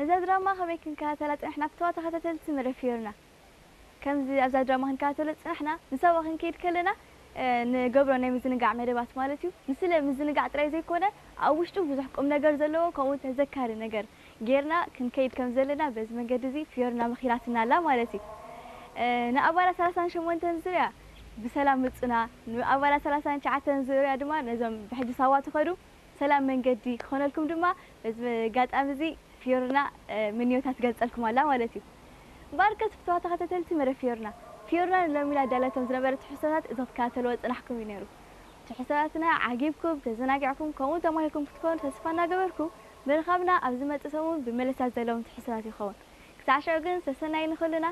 እዛ ድራማ ከመይ ክንከታተላ ጽንሕና? ብተዋ ተኸታተልቲ መደብ ፊዮርና። ከምዚ ኣብዛ ድራማ ክንከታተሎ ጽንሕና፣ ንሳዋ ክንከይድ ከለና፣ እ፣ ንገብሮ ናይ ምዝንጋዕ መደባት ማለት እዩ። ንስለ ምዝንጋዕ ጥራይ ዘይኮነ፣ ኣብ ውሽጡ ብዙሕ ቁም ነገር ዘለዎ፣ ከምኡ ተዘካሪ ነገር ጌርና ክንከይድ ከም ዘለና በዚ መንገዲ እዚ ፊዮርና መኺራትና ኣላ ማለት እዩ። እ፣ ንኣባላት ሰላሳን ሸሞንተን ዙርያ ብሰላም ምጹና፣ ንኣባላት ሰላሳን ትሽዓተን ዙርያ ድማ ነዞም ብሕጂ ሳዋ ትኸዱ ሰላም መንገዲ ክኾነልኩም ድማ በዚ ኣጋጣሚ እዚ ፊዮርና፣ እ፣ ምንዮታ ትገልጸልኩም ኣላ ማለት እዩ። እምበኣርከስ ብተዋ ተኸታተልቲ መደብ ፊዮርና፣ ፊዮርና ንሎሚ ላዳለቶም ዝነበረ ትሕዝቶታት እዞም ክትከታተልዎ ዝጸናሕኩም እዩ ነይሩ። ትሕዝቶታትና ዓጊብኩም፣ ተዘናጊዕኩም፣ ከምኡ ተማሂርኩም ክትኮኑ ተስፋ እናገበርኩ፣ ምርኻብና ኣብ ዝመጽእ ሰሙን ብመለሳት ዘለዎም ትሕዝቶታት ይኸውን። ክሳዕ ሽዑ ግን ሰሰናዩ ንኹልና።